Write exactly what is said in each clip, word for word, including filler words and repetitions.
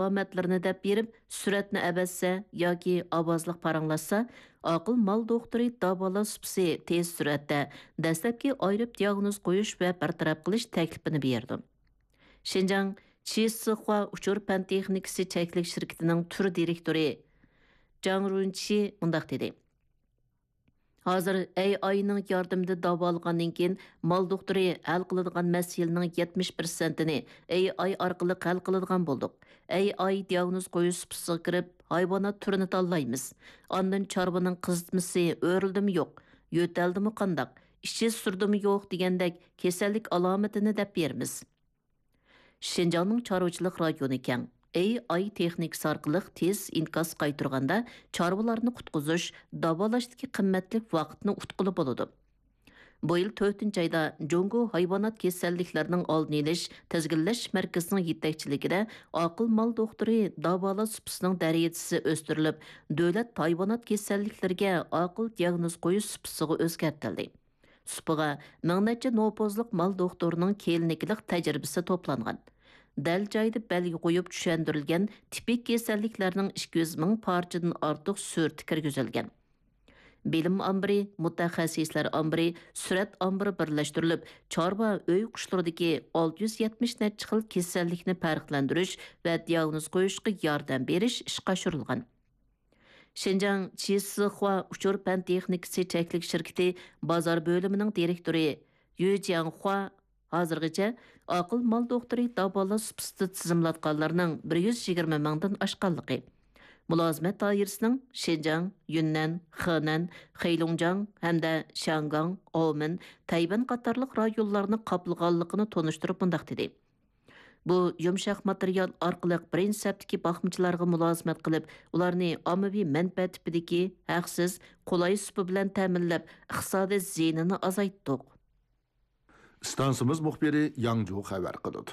ئالامەتلىرىنى دەپ بېرىپ، سۈرەتنى ئەۋەتسە ياكى ئاۋازلىق پاراڭلاشسا، ئاقىل مال دوختۇرى داۋالاش سۇپىسى تېز سۈرئەتتە دەسلەپكى ئايرىپ دىياگنوز قويۇش ۋە بىر تەرەپ قىلىش تەكلىپىنى بېرىدۇ. شىنجاڭ چىسىخۇا ئۇچۇر پەن تېخنىكىسى چەكلىك شىركىتىنىڭ تۈر دىرېكتورى جاڭ رۇنچى مۇنداق دېدى: ھازىر ئەي ئاينىڭ ياردىمىدە داۋالىغاندىن كېيىن، مال دوختۇرى ھەل قىلىدىغان مەسىلىنىڭ يەتمىش پىرسەنتىنى ئەي ئاي ئارقىلىق ھەل قىلىدىغان بولدۇق. ئەي ئاي دىياگنوز قويۇش سۇپىسىغا كىرىپ، ھايۋانات تۈرىنى تاللايمىز. ئاندىن چارۋىنىڭ قىزىتمىسى ئۆرۈلدىمۇ يوق، يۆتەلدىمۇ قانداق، ئىچى سۈردىمۇ يوق دېگەندەك كېسەللىك ئالامىتىنى دەپ بېرىمىز. شىنجاڭنىڭ چارۋىچىلىق رايونى كەڭ. ئەي ئاي تېخنىكىسى ئارقىلىق تېز ئىنكاس قايتۇرغاندا، چارۋىلارنى قۇتقۇزۇش، داۋالاشتىكى قىممەتلىك ۋاقىتنى ئۇتقىلى بولىدۇ. بۇ يىل تۆتىنچى ئايدا جۇڭگو ھايۋانات كېسەللىكلىرىنىڭ ئالدىنى ئېلىش تىزگىنلەش مەركىزىنىڭ يېتەكچىلىكىدە ئاقىل مال دوختۇرى داۋالاش سۇپىسىنىڭ دەرىجىسى ئۆستۈرۈلۈپ، دۆلەت ھايۋانات كېسەللىكلىرىگە ئاقىل دىياگنوز قويۇش سۇپىسىغا ئۆزگەرتىلدى. سۇپىغا مىڭ نەچچە نوپۇزلۇق مال دوختۇرىنىڭ كىلىنىكىلىق تەجرىبىسى توپلانغان. دەل جايىدا بەلگە قويۇپ چۈشەندۈرۈلگەن تىپىك كېسەللىكلەرنىڭ ئىككى يۈز مىڭ پارچىدىن ئارتۇق سۈرىتى كىرگۈزۈلگەن. بىلىم ئامبىرى، مۇتەخەسسىسلەر ئامبىرى، سۈرەت ئامبىرى بىرلەشتۈرۈلۈپ، چارۋا ئۆي قۇشلىرىدىكى ئالتە يۈز يەتمىش نەچچە خىل كېسەللىكنى پەرقلەندۈرۈش ۋە دىياگنوز قويۇشقا ياردەم بېرىش ئىشقا ئاشۇرۇلغان. شىنجاڭ چىسىخۇا ئۇچۇر پەن تېخنىكىسى چەكلىك شىركىتى بازار بۆلۈمىنىڭ دىرېكتورى يۈ جياڭخۇا ھازىرغىچە ئاقىل مال دوختۇرى داۋالاش سۇپىسىدا تىزىملاتقانلارنىڭ بىر يۈز يىگىرمە مىڭدىن ئاشقانلىقى، مۇلازىمەت دائىرىسىنىڭ شىنجاڭ، يۈننەن، خېنەن، خېيلۇڭجياڭ ھەمدە شياڭگاڭ، ئاۋمېن، تەيۋەن قاتارلىق رايونلارنى قاپلىغانلىقىنى تونۇشتۇرۇپ مۇنداق دېدى: بۇ يۇمشاق ماتېرىيال ئارقىلىق بىرىنچى سەپتىكى باقمىچىلارغا مۇلازىمەت قىلىپ، ئۇلارنى ئاممىۋى مەنپەئەت تىپىدىكى ھەقسىز، قولاي سۇپا بىلەن تەمىنلەپ، ئىقتىسادىي زىيىنىنى ئازايتتۇق. ئىستانسىمىز مۇخبىرى ياڭجۇ خەۋەر قىلىدۇ.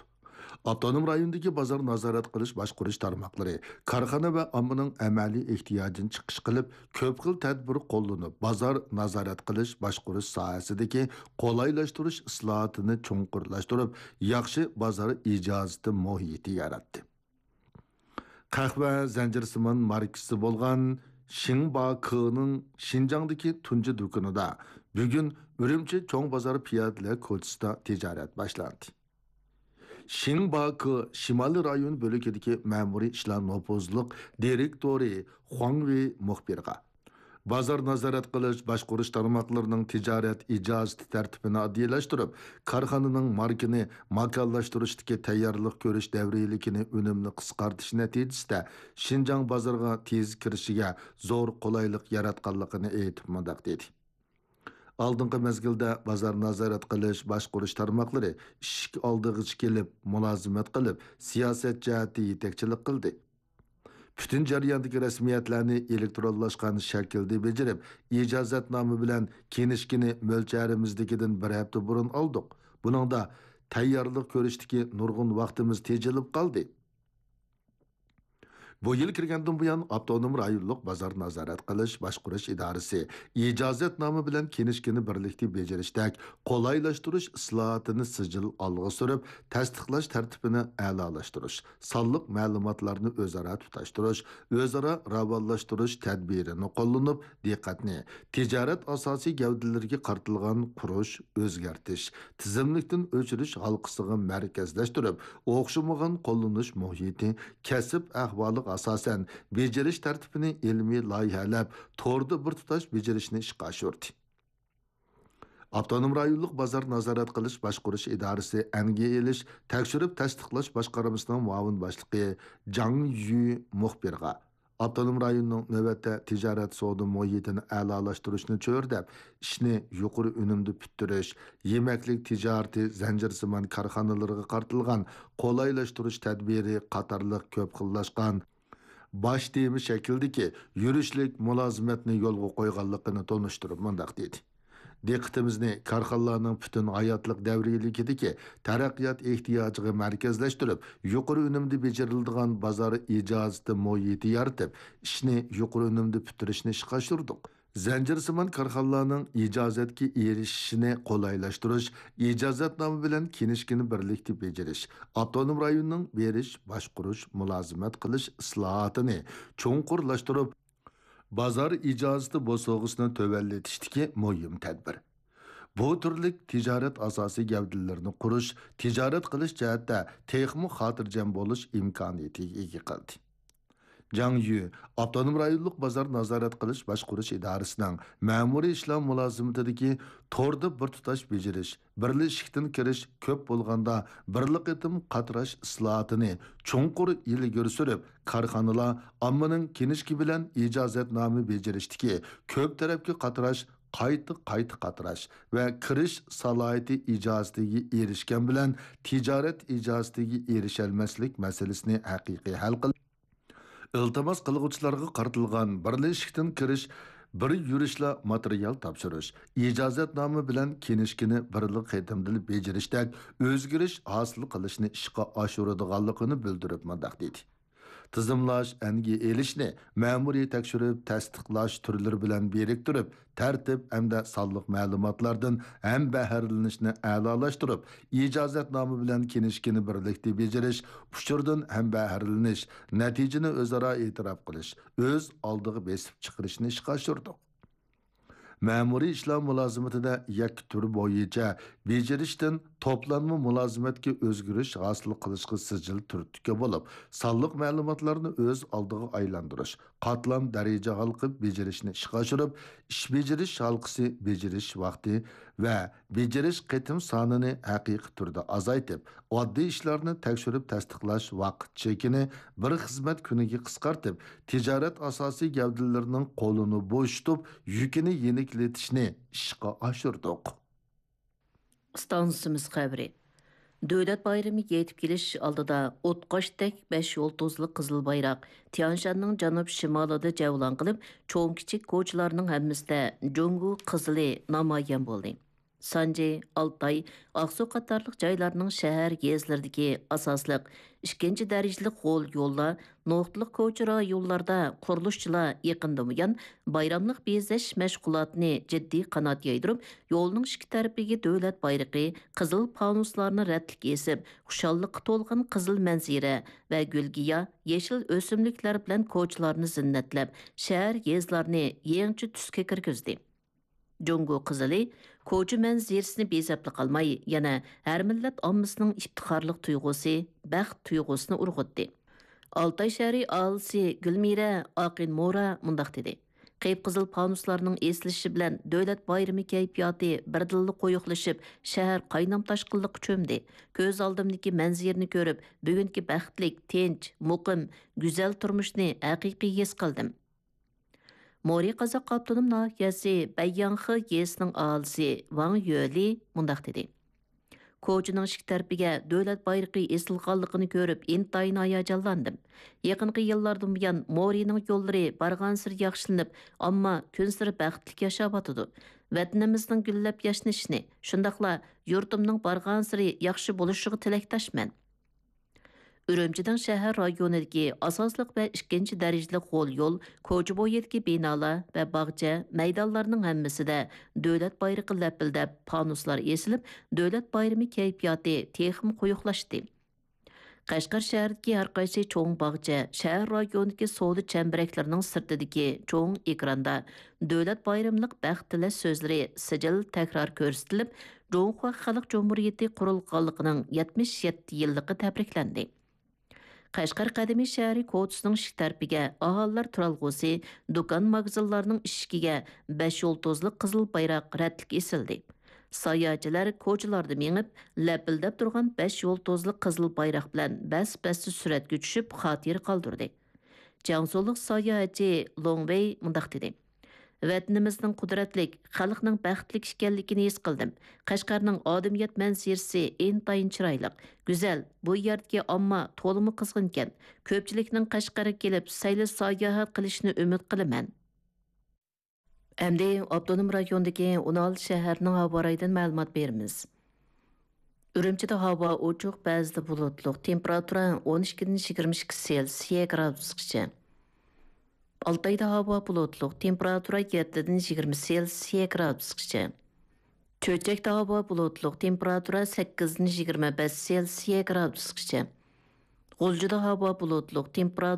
ئاپتونوم رايوندىكى بازار نازارەت قىلىش باشقۇرۇش تارماقلىرى كارخانا ۋە ئاممىنىڭ ئەمەلىي ئېھتىياجىنى چىقىش قىلىپ، كۆپ خىل تەدبىر قوللىنىپ، بازار نازارەت قىلىش باشقۇرۇش ساھەسىدىكى قولايلاشتۇرۇش ئىسلاھاتىنى چوڭقۇرلاشتۇرۇپ، ياخشى بازار ئىجازىتى مۇھىتى ياراتتى. قەھۋە زەنجىرسىمان ماركىسى بولغان شىڭباكېنىڭ شىنجاڭدىكى تۇنجى دۇكىنىدا بۈگۈن ئۈرۈمچى چوڭ بازار پىيادىلەر كوچىسىدا تىجارەت باشلاندى. شىڭباكې شىمالىي رايون بۆلىكىدىكى مەمۇرىي ئىشلار نوپۇزلۇق دىرېكتورى خۇاڭ ۋېي مۇخبىرغا، بازار نازارەت قىلىش باشقۇرۇش تارماقلىرىنىڭ تىجارەت ئىجازىتى تەرتىپىنى ئاددىيلاشتۇرۇپ، كارخانىنىڭ ماركىنى ماكانلاشتۇرۇشتىكى تەييارلىق كۆرۈش دەۋرىيلىكىنى ئۈنۈملۈك قىسقارتىش نەتىجىسىدە شىنجاڭ بازىرىغا تېز كىرىشىگە زور قولايلىق ياراتقانلىقىنى ئېيتىپ مۇنداق دېدى: ئالدىنقى مەزگىلدە بازار نازارەت قىلىش باشقۇرۇش تارماقلىرى ئىشىك ئالدىغىچە كېلىپ، مۇلازىمەت قىلىپ، سىياسەت جەھەتتە يېتەكچىلىك قىلدى. پۈتۈن جەرياندىكى رەسمىيەتلەرنى ئېلېكترونلاشقان شەكىلدە بېجىرىپ، ئىجازەتنامە بىلەن كىنىشكىنى مۆلچەرىمىزدىكىدىن بىر ھەپتە بۇرۇن ئالدۇق. بۇنىڭدا تەييارلىق كۆرۈشتىكى نۇرغۇن ۋاقتىمىز تېجىلىپ قالدى. بۇ يىل كىرگەندىن بۇيان، ئاپتونوم رايونلۇق بازار نازارەت قىلىش باشقۇرۇش ئىدارىسى ئىجازەتنامە بىلەن كىنىشكىنى بىرلىكتە بېجىرىشتەك قولايلاشتۇرۇش ئىسلاھاتىنى سىجىل ئالغا سۈرۈپ، تەستىقلاش تەرتىپىنى ئەلالاشتۇرۇش، سانلىق مەلۇماتلارنى ئۆزئارا تۇتاشتۇرۇش، ئۆزئارا راۋانلاشتۇرۇش تەدبىرىنى قوللىنىپ، دىققەتنى تىجارەت ئاساسىي گەۋدىلىرىگە قارىتىلغان قۇرۇش، ئۆزگەرتىش، تىزىملىكتىن ئۆچۈرۈش ھالقىسىغا مەركەزلەشتۈرۈپ، ئوخشىمىغان قوللىنىش مۇھىتى، كەسىپ ئەھۋالىغا ئاساسەن بېجىرىش تەرتىپىنى ئىلمىي لايىھەلەپ، توردا بىر تۇتاش بېجىرىشنى ئىشقا ئاشۇردى. ئاپتونوم رايونلۇق بازار نازارەت قىلىش باشقۇرۇش ئىدارىسى ئەنگە ئېلىش تەكشۈرۈپ تەستىقلاش باشقارمىسىنىڭ مۇئاۋىن باشلىقى جاڭ يۈ مۇخبىرغا، ئاپتونوم رايوننىڭ نۆۋەتتە تىجارەت سودا مۇھىتىنى ئەلالاشتۇرۇشنى چۆرىدەپ، ئىشنى يۇقىرى ئۈنۈمدە پۈتتۈرۈش، يېمەكلىك تىجارىتى زەنجىرسىمان كارخانىلىرىغا قارىتىلغان قولايلاشتۇرۇش تەدبىرى قاتارلىق كۆپ خىللاشقان باش تېما شەكلىدىكى يۈرۈشلۈك مۇلازىمەتنى يولغا قويغانلىقىنى تونۇشتۇرۇپ مۇنداق دېدى: دىققىتىمىزنى كارخانىلارنىڭ پۈتۈن ھاياتلىق دەۋرىيلىكىدىكى تەرەققىيات ئېھتىياجىغا مەركەزلەشتۈرۈپ، يۇقىرى ئۈنۈمدە بېجىرىلىدىغان بازار ئىجازىتى مۇھىتى يارىتىپ، ئىشنى يۇقىرى ئۈنۈمدە پۈتتۈرۈشنى ئىشقا ئاشۇردۇق. زەنجىرسىمان كارخانىلارنىڭ ئىجازەتكە ئېرىشىشىنى قولايلاشتۇرۇش، ئىجازەتنامە بىلەن كىنىشكىنى بىرلىكتە بېجىرىش، ئاپتونوم رايوننىڭ بېرىش، باشقۇرۇش مۇلازىمەت قىلىش ئىسلاھاتىنى چوڭقۇرلاشتۇرۇپ، بازار ئىجازىتى بوسۇغىسىنى تۆۋەنلىتىشتىكى مۇھىم تەدبىر. بۇ تۈرلۈك تىجارەت ئاساسىي گەۋدىلىرىنى قۇرۇش، تىجارەت قىلىش جەھەتتە تېخىمۇ خاتىرجەم بولۇش ئىمكانىيىتىگە ئىگە قىلدى. جاڭ يۈ ئاپتونوم رايونلۇق بازار نازارەت قىلىش باشقۇرۇش ئىدارىسىنىڭ مەمۇرىي ئىشلار مۇلازىمىتىدىكى توردا بىر تۇتاش بېجىرىش، بىرلا ئىشىكتىن كىرىش، كۆپ بولغاندا بىرلا قېتىم قاتراش ئىسلاھاتىنى چوڭقۇر ئىلگىرى سۈرۈپ، كارخانىلار ئاممىنىڭ كىنىشكا بىلەن ئىجازەتنامە بېجىرىشتىكى كۆپ تەرەپكە قاتراش، قايتا، قايتا قاتراش ۋە كىرىش سالاھىيىتى ئىجازىتىگە ئېرىشكەن بىلەن تىجارەت ئىجازىتىگە ئېرىشەلمەسلىك مەسىلىسىنى ھەقىقىي ھەل قىلىش، ئىلتىماس قىلغۇچىلارغا قارىتىلغان بىرلا ئىشىكتىن كىرىش، بىر يۈرۈشلا ماتېرىيال تاپشۇرۇش، ئىجازەتنامە بىلەن كىنىشكىنى بىرلا قېتىمدىلا بېجىرىشتەك ئۆزگىرىش ھاسىل قىلىشنى ئىشقا ئاشۇرىدىغانلىقىنى بىلدۈرۈپ مۇنداق دېدى: تىزىملاش، ئەنگە ئېلىشنى مەمۇرىي تەكشۈرۈپ تەستىقلاش تۈرلىرى بىلەن بىرىكتۈرۈپ، تەرتىپ ھەمدە سانلىق مەلۇماتلاردىن ھەمبەھىرىلىنىشنى ئەلالاشتۇرۇپ، ئىجازەتنامە بىلەن كىنىشكىنى بىرلىكتە بېجىرىش، ئۇچۇردىن ھەمبەھىرلىنىش، نەتىجىنى ئۆزئارا ئېتىراپ قىلىش، ئۆز ئالدىغا بېسىپ چىقىرىشنى ئىشقا ئاشۇردۇق. مەمۇرىي ئىشلار مۇلازىمىتىدە يەككە تۈر بويىچە بېجىرىشتىن توپلانما مۇلازىمەتكە ئۆزگىرىش ھاسىل قىلىشقا سىجىل تۈرتكە بولۇپ، سانلىق مەلۇماتلارنى ئۆز ئالدىغا ئايلاندۇرۇش، قاتلام دەرىجە ھالقىپ بېجىرىشنى ئىشقا ئاشۇرۇپ، ئىش بېجىرىش ھالقىسى، بېجىرىش ۋاقتى ۋە بېجىرىش قېتىم سانىنى ھەقىقىي تۈردە ئازايتىپ، ئاددىي ئىشلارنى تەكشۈرۈپ تەستىقلاش ۋاقىت چېكىنى بىر خىزمەت كۈنىگە قىسقارتىپ، تىجارەت ئاساسىي گەۋدىلىرىنىڭ قولىنى بوشىتىپ، يۈكىنى يېنىكلىتىشنى ئىشقا ئاشۇردۇق. ئىستانسىمىز خەۋىرى. دۆلەت بايرىمى يېتىپ كېلىش ئالدىدا ئوتقاشتەك بەش يۇلتۇزلۇق قىزىل بايراق تيانشاننىڭ جەنۇب شىمالىدا جەۋلان قىلىپ، چوڭ-كىچىك كوچىلارنىڭ ھەممىسىدە جۇڭگو قىزىلى نامايان بولدى. سانجى، ئالتاي، ئاقسۇ قاتارلىق جايلارنىڭ شەھەر، يېزىلىرىدىكى ئاساسلىق ئىككىنچى دەرىجىلىك غول يوللار، نۇقتىلىق كوچا رايونلاردا قۇرۇلۇشچىلار يېقىندىن بۇيان بايراملىق بېزەش مەشغۇلاتىنى جىددىي قانات يايدۇرۇپ، يولنىڭ ئىككى تەرىپىگە دۆلەت بايرىقى، قىزىل پانۇسلارنى رەتلىك ئېسىپ، خۇشاللىققا تولغان قىزىل مەنزىرە ۋە گۈل-گىياھ، يېشىل ئۆسۈملۈكلەر بىلەن كوچىلارنى زىننەتلەپ، شەھەر، يېزىلارنى يېڭىچە تۈسكە كىرگۈزدى. جۇڭگو قىزىلى كوچا مەنزىرىسىنى بېزەپلا قالماي، يەنە ھەر مىللەت ئاممىسىنىڭ ئىپتىخارلىق تۇيغۇسى، بەخت تۇيغۇسىنى ئۇرغۇتتى. ئالتاي شەھىرى ئاھالىسى گۈلمىرە ئاقىن مورا مۇنداق دېدى: قىپقىزىل پانۇسلارنىڭ ئېسىلىشى بىلەن دۆلەت بايرىمى كەيپىياتى بىردىنلا قويۇقلىشىپ، شەھەر قاينام-تاشقىنلىققا چۆمدى. كۆز ئالدىمدىكى مەنزىرىنى كۆرۈپ، بۈگۈنكى بەختلىك، تىنچ، مۇقىم، گۈزەل تۇرمۇشنى ھەقىقىي ھېس قىلدىم. مورى قازاق ئاپتونوم ناھىيەسى بەيياڭخې يېزىسىنىڭ ئاھالىسى ۋاڭ يۆلى مۇنداق دېدى: كوچىنىڭ ئىككى تەرىپىگە دۆلەت بايرىقى ئېسىلغانلىقىنى كۆرۈپ، ئىنتايىن ھاياجانلاندىم. يېقىنقى يىللاردىن بۇيان مورىنىڭ يوللىرى بارغانسېرى ياخشىلىنىپ، ئامما كۈنسېرى بەختلىك ياشاۋاتىدۇ. ۋەتىنىمىزنىڭ گۈللەپ ياشنىشىنى، شۇنداقلا يۇرتۇمنىڭ بارغانسېرى ياخشى بولۇشىغا تىلەكداشمەن. ئۈرۈمچىنىڭ شەھەر رايونىدىكى ئاساسلىق ۋە ئىككىنچى دەرىجىلىك غول يول، كوچا بويىدىكى بىنالار ۋە باغچە، مەيدانلارنىڭ ھەممىسىدە دۆلەت بايرىقى لەپىلدەپ، پانۇسلار ئېسىلىپ، دۆلەت بايرىمى كەيپىياتى تېخىمۇ قويۇقلاشتى. قەشقەر شەھىرىدىكى ھەر قايسى چوڭ باغچە، شەھەر رايونىدىكى سودا چەمبىرەكلىرىنىڭ سىرتىدىكى چوڭ ئېكراندا دۆلەت بايرىملىق بەخت تىلەش سۆزلىرى سىجىل تەكرار كۆرسىتىلىپ، جۇڭخۇا خەلق جۇمھۇرىيىتى قۇرۇلغانلىقىنىڭ يەتمىش يەتتە يىللىقى تەبرىكلەندى. قەشقەر قەدىمىي شەھىرى كوچىسىنىڭ ئىشىك تەرىپىگە ئاھالىلەر تۇرالغۇسى، دۇكان، ماگىزىنلارنىڭ ئىشىكىگە بەش يۇلتۇزلۇق قىزىل بايراق رەتلىك ئېسىلدى. ساياھەتچىلەر كوچىلاردا مېڭىپ، لەپىلدەپ تۇرغان بەش يۇلتۇزلۇق قىزىل بايراق بىلەن بەس-بەستە سۈرەتكە چۈشۈپ، خاتىرە قالدۇردى. جياڭسۇلۇق ساياھەتچى لوڭ ۋېي مۇنداق دېدى: ۋەتىنىمىزنىڭ قۇدرەتلىك، خەلقنىڭ بەختلىك ئىكەنلىكىنى ھېس قىلدىم. قەشقەرنىڭ ئادىمىيەت مەنزىرىسى ئىنتايىن چىرايلىق، گۈزەل. بۇ يەردىكى ئامما تولىمۇ قىزغىنكەن. كۆپچىلىكنىڭ قەشقەرگە كېلىپ سەيلە ساياھەت قىلىشىنى ئۈمىد قىلىمەن. ئەمدى ئاپتونوم رايوندىكى ئون ئالتە شەھەرنىڭ ھاۋا رايىدىن مەلۇمات بېرىمىز. ئۈرۈمچىدە ھاۋا ئوچۇق، بەزىدە بۇلۇتلۇق، تېمپېراتۇرا ئون ئىككىدىن يىگىرمە ئىككى سېلسىيە گرادۇسقىچە. ئالتايدا ھاۋا بۇلۇتلۇق، تېمپېراتۇرا يەتتىدىن يىگىرمە سېلسىيە گرادۇسقىچە. چۆچەكتە ھاۋا بۇلۇتلۇق، تېمپېراتۇرا سەككىزدىن يىگىرمە بەش سېلسىيە گرادۇسقىچە. غۇلجىدا ھاۋا بۇلۇتلۇق، تېمپېراتۇرا